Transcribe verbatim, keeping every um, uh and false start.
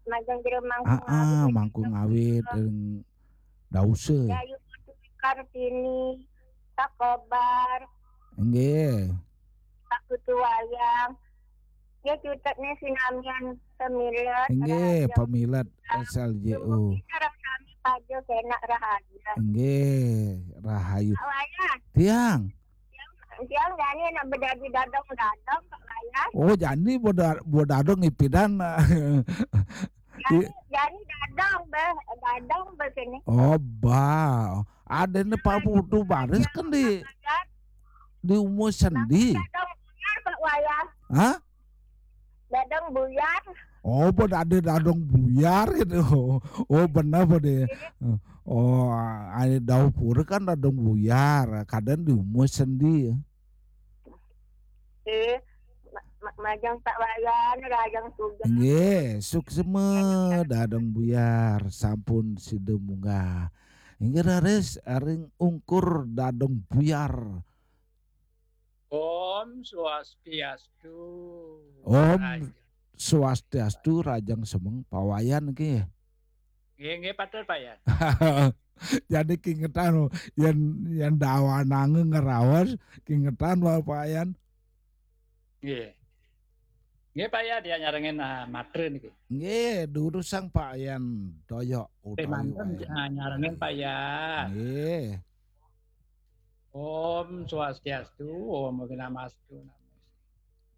Majeng jero Mangku Ngawit. Ah, Mangku Ngawit ring Dause. Dayu Kartini, Pak Kobar. Nggih. Pak Putu Wayang. Nggih, cutetne sinamian pemilet. Nggih, pemilet S L J U. Sareng sami paja kenak rahayu. Nggih, rahayu. Pak Wayan. Tiang. Tiang jani nak bedadi dadong-dadong, Pak Wayan. Oh, jani bedadong ipidan. Jani, jani dadong be, dadong be kene. Oh, ba. Adene Pak Putu Baris kan di di umur sendi. Dadong buyar, Pak Wayan. Hah? Dadong buyar. Oh, pada ada dadong buyar gitu. Oh, benar pada. Oh, ada dapur kan dadong buyar. Kadang di umur sendi. Eh, majeng Pak Wayan, rajang sudah. Nggih, suksma dadong buyar sampun sida munggah. Inggih raris ring ungkur dadong buyar. Om Swastiastu. Om Swastiastu, rajang semeng Pak Wayan nggih. Nggih, nggih, patur, Pak Yan. Jadi kingetan yen yen dawanange ngeraos, kingetan wae Pak Yan. Nggih. Nggih, Pak Yan, ya nyarengin uh, matre niki. Nggih, durusang Pak Yan Doyok utawi Pak Yan. Nyarengin Pak Yan. Nggih. Om Swastiastu, Om Awighnamastu.